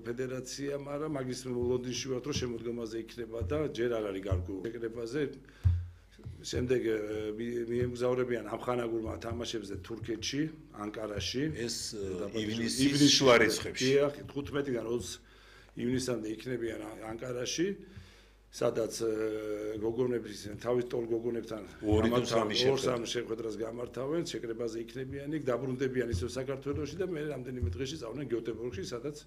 ფედერაცია, მაგრამ მაგის ლონდონში ვართ, რომ შემოდგომაზე იქნება და ჯერ არ არის გარკვეული შეკრებაზე. შემდეგ მიემგზავრებიან ამხანაგურმა თამაშებზე თურქეთში, ანკარაში. ეს ივნისის შუა რიცხვებში. 15-დან 20 ივნისამდე იქნებიან ანკარაში. სადაც გოგონების თავის ტოლ გოგონებთან 2-3 შეხვედრას გამართავენ, შეკრებაზე იქნებიან, იქ დაბრუნდებიან ისევ საქართველოში და მე რამდენიმე დღეში წავდნენ გიოტებორგში, სადაც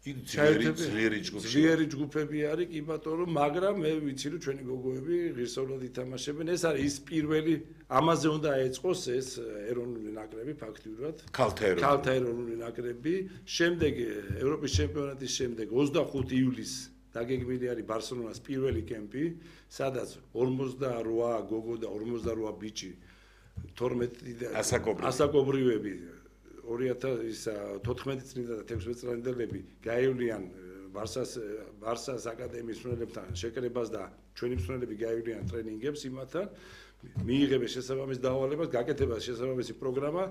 ძლიერი ჯგუფები არის, კი ბატონო, მაგრამ მე ვიცი რომ ჩვენი გოგოები ღირსეულად ითამაშებენ. ეს არის ის პირველი, ამაზე უნდა ეწყოს ეს ეროვნული ნაკრები ფაქტიურად. ქალთა ეროვნული ნაკრები. შემდეგ ევროპის ჩემპიონატის შემდეგ 25 ივლისს დაგეგმილი არის ბარსელონას პირველი კემპი, სადაც 48 გოგო და 48 ბიჭი 12 ასაკობრივები 2014 წლიდან და 16 წლამდელები გაივლიან ბარსას აკადემიის მსმენელებთან შეკრებას და ჩვენი მსმენელები გაივლიან ტრენინგებს იმათთან, მიიღებენ შესაბამის დავალებას, გაკეთება შესაბამისი პროგრამა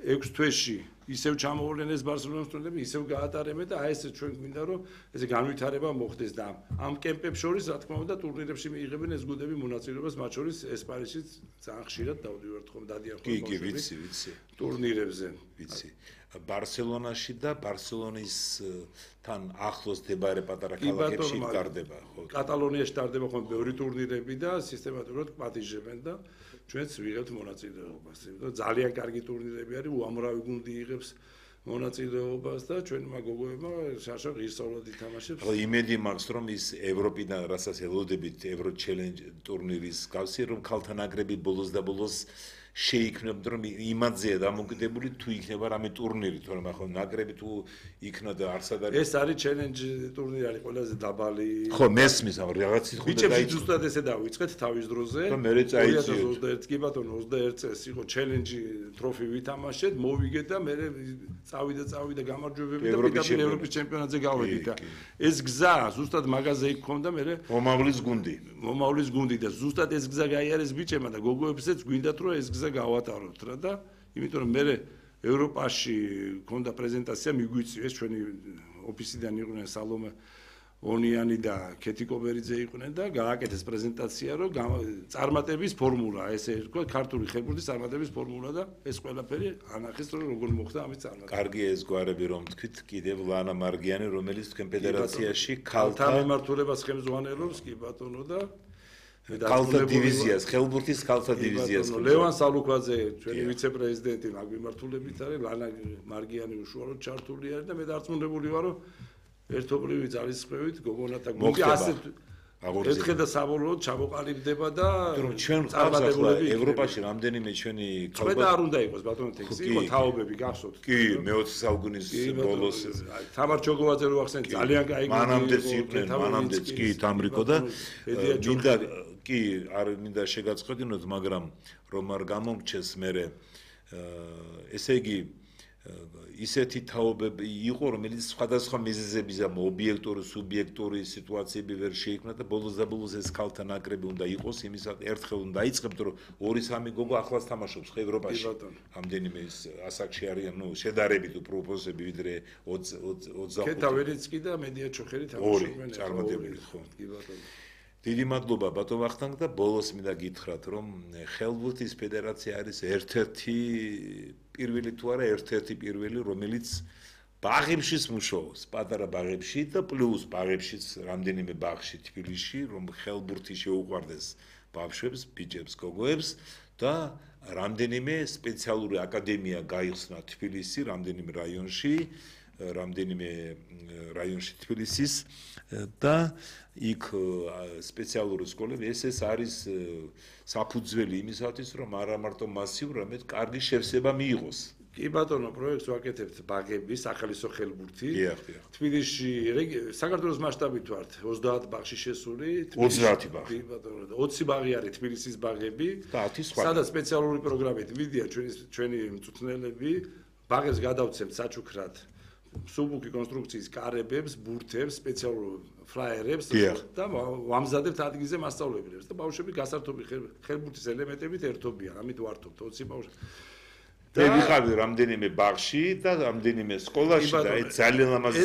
6 თვეში. ისევ ჩამოვლენ ეს ბარსელონის მსმენელები, ისევ გაატარებენ და აი ეს ჩვენ გვინდა რომ ესე განვითარება მოხდეს და ამ კემპებს შორის რა თქმა უნდა ტურნირებში მიიღებენ ეს გუნდები მონაწილეობას, მათ შორის ესპანეთშიც ძალიან ხშირად დავდივართ ხომ დადიან ხომ კი, ვიცი. ტურნირებზე. ვიცი. ბარსელონაში და ბარსელონისთან ახლოს მდებარე პატარა ქალაქებში ტარდება, ხო? კატალონიაში ტარდება ხომ ბევრი ტურნირები და სისტემატურად პატიჟებენ და ჩვენც ვიღებთ მონაწილეობას. ძალიან კარგი ტურნირები არის, უამრავი გუნდი იღებს მონაწილეობას და ჩვენმა გოგოებმა შარშა ღირსეულად ითამაშებს. ხო, იმედი მაქვს რომ ის ევროპიდან რასაც ელოდებით ევრო ჩელენჯ ტურნირის გავსი რომ ქალთა ნაკრები ბოლოს და ბოლოს შეიქმნებდა რომ იმადზეა დამოკიდებული თუ იქნება რამე ტურნირი, თორემ ახლა ნაკრები თუ იქნა და არსად არის. ეს არის ჩელენჯ ტურნირი არის ყველაზე დაბალი. ხო, მესმის ამ რაღაცით ხო და დაიწყო. ზუსტად ესე დავიწყეთ თავის დროზე. და მე წაიწიეთ. 2021 კი ბატონო 21 წელს იყო ჩელენჯი ტროფი ვითამაშეთ, მოვიგეთ და მე წავიდა გამარჯვებები და პირდაპირ ევროპის ჩემპიონატზე გავედით და ეს გზა ზუსტად მაგაზე იქ ქონდა მე მომავლის გუნდი და ზუსტად ეს გზა გაიარეს ბიჭებმა და გოგოებსაც გვინდათ რომ ეს გზა გავატაროთ რა და იმიტომ რომ მე ევროპაში ქონდა პრეზენტაცია მიგვიწვიეს ჩვენი ოფისიდან იყვნენ სალომე ონიანი და ქეთი კობერიძე იყვნენ და გააკეთეს პრეზენტაცია რომ წარმატების ფორმულა ესე თქვა ქართული ხერხბურთის წარმატების ფორმულა და ეს ყველაფერი ანახეს რომ როგორ მოხდა ამის წარმატება. კარგია ეს გვარები რომ თქვით კიდევ ლანა მარგიანი რომელიც თქვენ ფედერაციაში ქალთა მიმართულებას ხელმძღვანელობს კი ბატონო და ქალთა დივიზიას, ხელბურთის ქალთა დივიზიას. ლევან სალუქვაძე, ჩვენი ვიცე-პრეზიდენტი, მაგ მიმართულებით არის, ლანა მარგიანი უშუალოდ ჩართული არის და მე დარწმუნებული ვარ, რომ ერთობლივი ძალისხმევით გოგონათა გუნდი ასეთ ერთხელ და საბოლოოდ ჩამოყალიბდება და ჩვენ წარმატებულები ევროპაში რამდენიმე ჩვენი ქალბატონი არ უნდა იყოს ბატონო ტექსი, იყო თაობები გახსოვთ. კი, მე-20 საუკუნის ბოლოს თამარ ჩოგოვაძე რო ახსენეთ ძალიან კაი მანამდეც კი თამრიკო და კი არ მინდა შეგაწყოდინოთ, მაგრამ რომ არ გამომრჩეს მე ესე იგი ისეთი თაობები იყო, რომელიც სხვადასხვა მიზეზების ამ ობიექტური, სუბიექტური სიტუაციები ვერ შეიქმნა და ბოლოს და ბოლოს ეს ქალთა ნაკრები უნდა იყოს, იმისად ერთხელ უნდა იწყებთ, რომ 2-3 გოგო ახლაც თამაშობს ევროპაში. ამდენიმე ასაკში არიან, შედარებით უფრო უფროსები ვიდრე 25. ქეთა ვერიცკი და მედია ჩოხერი თამაშობენ წარმატებული ხო. დიდი მადლობა ბატონ ვახტანგ და ბოლოს მინდა გითხრათ, რომ ხელბურთის ფედერაცია არის ერთ-ერთი პირველი თუ არა ერთ-ერთი პირველი, რომელიც ბაღებშიც მუშაობს, პატარა ბაღებში და პლუს ბაღებშიც რამდენიმე ბაღში თბილისში, რომ ხელბურთი შეუყვარდეს ბავშვებს, ბიჭებს, გოგოებს და რამდენიმე სპეციალური აკადემია გაიხსნა თბილისში, რამდენიმე რაიონში თბილისის და იქ სპეციალური სკოლები ეს არის საფუძველი იმისათვის რომ არა მარტო მასიურ, არამედ კარგი შევსება მიიღოს. კი ბატონო, პროექტს ვაკეთებთ ბაღების, ახალისო ხელბურთი. თბილისში საქართველოს მასშტაბით ვართ 30 ბაღში შესული. 30 ბაღი. კი ბატონო, 20 ბაღი არის თბილისის ბაღები. და 10 სხვა. სადაც სპეციალური პროგრამით მიდიან ჩვენი მწვრთნელები, ბაღებს გადავცემთ საჩუქრად. სუბუქი კონსტრუქციის კარებებს, ბურთებს, სპეციალურ ფლაიერებს და ვამზადებთ ადგილზე მასწავლებლებს და ბავშვები გასართობი ხერბურთის ელემენტებით ერთობიან, ამით ვართობთ 20 ბავშვი. მე ვიყავი რამდენიმე ბაღში და რამდენიმე სკოლაში და ეს ძალიან ლამაზი